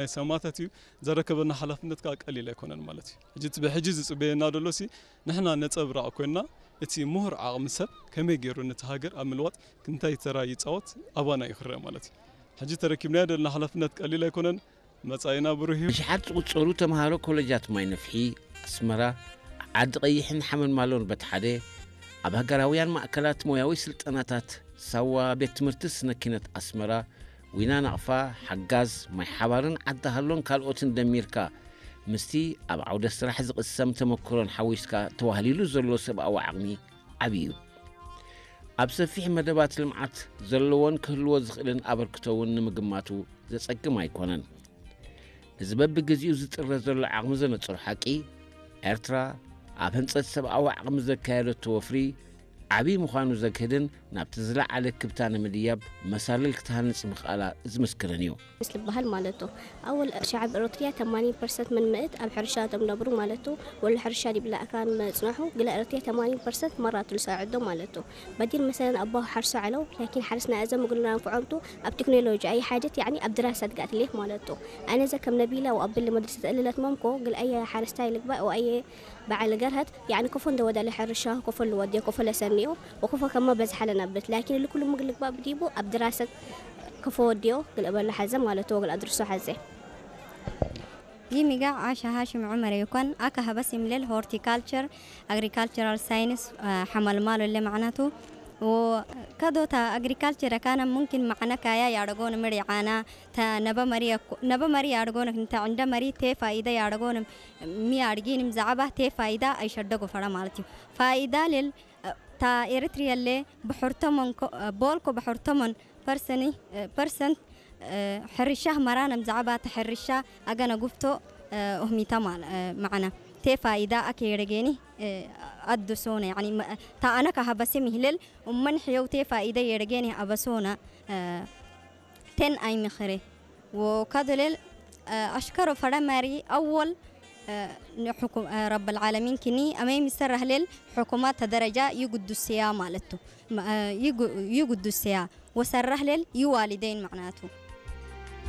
ናይ ሰማእታት እዩ። ዘረከበና ሓላፍነት ከዓ ቀሊል ኣይኮነን ማለት እዩ። ሕጂ እቲ ብሕጂ ዝፅበየና ዘሎ ሲ ንሕና ነፀብራቕ ኮይና እቲ ምሁር ዓቕሚ ሰብ ከመይ ገይሩ ነቲ ሃገር ኣብ ምልዋጥ ክንታይ ተራ ይፃወት ኣባና እዩ ክረአ ማለት እዩ። ሕጂ ተረኪብናዮ ዘለና ሓላፍነት ቀሊል ኣይኮነን። መጻኢና ብሩህ እዩ። ብሽሓት ዝቑጸሩ ተምሃሮ ኮለጃት ማይ ነፍሒ ኣስመራ፣ ዓዲ ቀይሕን ሓመልማሎን በቲ ሓደ፣ ኣብ ሃገራውያን ማእከላት ሞያዊ ስልጠናታት ሳዋ፣ ቤት ትምህርቲ ስነ ኪነት ኣስመራ፣ ዊና ናቕፋ፣ ሓጋዝ፣ ማይ ሓባርን ዓዲ ሃሎን ካልኦትን ደሚርካ፣ ምስቲ ኣብ ዓውደ ስራሕ ዝቕሰም ተመክሮን ሓዊስካ ተዋህሊሉ ዘሎ ሰብኣዊ ዓቕሚ ዓቢ እዩ። ኣብ ሰፊሕ መደባት ልምዓት ዘለዎን ክህልዎ ዝኽእልን ኣበርክቶ እውን ንምግማቱ ዘጸግም ኣይኮነን። እዚ በብግዜኡ ዝጥረ ዘሎ ዓቕሚ ዘነጽሮ ሓቂ፣ ኤርትራ ኣብ ህንጸት ሰብኣዊ ዓቕሚ ዘካየደቶ ወፍሪ ዓቢ ምዃኑ ዘግህድን ናብቲ ዝለዓለ ክብታ ንምድያብ መሳልል ክትሃንጽ ምኽኣላ ዝምስክርን እዩ። ምስ ዝበሃል ማለቱ ኣወል ሸዓብ ኤረትርያ ተማኒን ፐርሰንት ምን ምእት ኣብ ሕርሻ እቶም ነብሩ ማለቱ ወሉ ሕርሻ ዲብላ ኣካን መጽናሑ ግለ ኤረትርያ ተማኒን ፐርሰንት መራቱ ልሳዕዶ ማለቱ በዲር መሰለን ኣባሁ ሓርሶ ዓለው ላኪን ሓርስና እዘ ምግልና ንፍዖምቱ ኣብ ቴክኖሎጂ ኣይ ሓጀት ያኒ ኣብ ድራሰት ጋትሌት ማለቱ ኣነዘ ከም ነቢላ ወኣብል መድርሰት እልለት መምኮ ግል ኣየ ሓረስታይ ልግባእ ወኣየ በዓል ገርሀት ያኒ ኮፎ እንደወደለ ሕርሻ ኮፎ ልወዲዮ ኮፎ ለሰኒዮ ወኮፎ ከማ በዝሓ ለነብት ላኪን ልኩሉ ምግል ልግባእ ብዲቡ ኣብ ድራሰት ኮፎ ወዲዮ ግል እበሎ ሓዘ ማለቱ ወግል ኣድርሶ ሓዘ ይሚጋ ዓሻ ሃሽም ዑመር ይኮን ኣካ ሀበስ ይምለል ሆርቲካልቸር ኣግሪካልቸራል ሳይንስ ሓመልማሎ ለ ማዕናቱ ከዶታ ኣግሪካልቸር ካና ሙምኪን ማዕነ ካያ ያደጎን ምሪ ዓና ተ ነበ መሪ ያደጎን እንተ ዕንደ መሪ ቴ ፋይደ ያደጎን ሚ ኣድጊንም ዛዕባ ቴ ፋይዳ ኣይሸደጎ ፈረ ማለት እዩ። ፋይዳ ልል ታ ኤርትርየለ ብሕርቶሞን ቦልኮ ብሕርቶሞን ፐርሰኒ ፐርሰንት ሕርሻህ መራነም ዛዕባ ተሕርሻ ኣገነ ጉፍቶ ኡህሚታ ማዕና ቴ ፋይዳ ኣከ የረጌኒ ኣድሶነ ያኒ ታ ኣነካ ሀበሴ ሚህልል እመን ሕየው ቴ ፋይደ የረጌኒ ኣበሶነ ቴን ኣይምኽሬ ወካዶሌል ኣሽከሮ ፈረመሪ ኣወል ንሕኩም ረብ ልዓለሚን ክኒ ኣመይ ምሰራህሌል ሕኩማት ተደረጃ ይጉዱስያ ማለቱ ይጉዱስያ ወሰራህሌል ይዋሊደይን ማዕናቱ